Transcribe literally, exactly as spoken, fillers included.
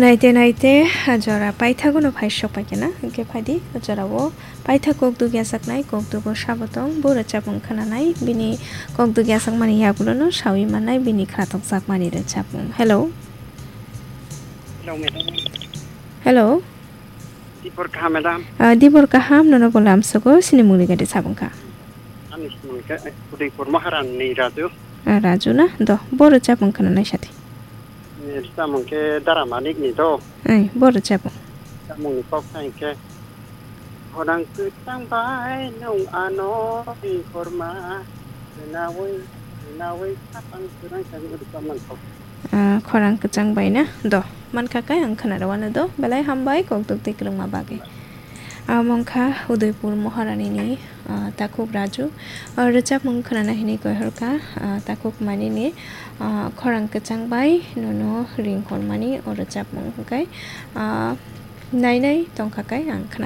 Naite naite, ah, jora paithagono phai sok paikha na, hwnkhe phaidi, ah, jorao paithak kok dugya saknai, kok dugo sabo tong, bo rwchapmung khwnanai, bini kok dugya sakmani yagulono sawi mannai, bini khwnathok jakmani rwchapmung. Hello. Hello, madam. Hello. Dibor kaham, madam? Ah, dibor kaham, nono bo lamsogo, sinimungni gade sabung kha. Ani sinimung khe Udaipur Maharani ni Raju. Ah, Raju na? Do, bo rwchapmung khwnanai sadi. Ni rwchapmung khe Dara Manik ni do. Ai, bo rwchapmung. Rwchapmung ni kok sa hinkhe, khorang kwchang bai nwng ano ringkhorma, rwnawi, rwnawi khapang kwrang khe rwchapmung kok. Ah, khorang kwchang bai na? Do, mankha khe ang khwnarwano do. Belai hambai, kok duk twi kwrwngma bagwi. Amo wngkha Udaipur Maharani ni, ah, takhuk Raju. Ah, rwchapmung khwnana hinwi koihorkha, ah, takhuk manini, ah, khorang kwchang bai nono ring hormani o rwchapmung hwnkhe, ah, nainai tongkha khe ang khwna-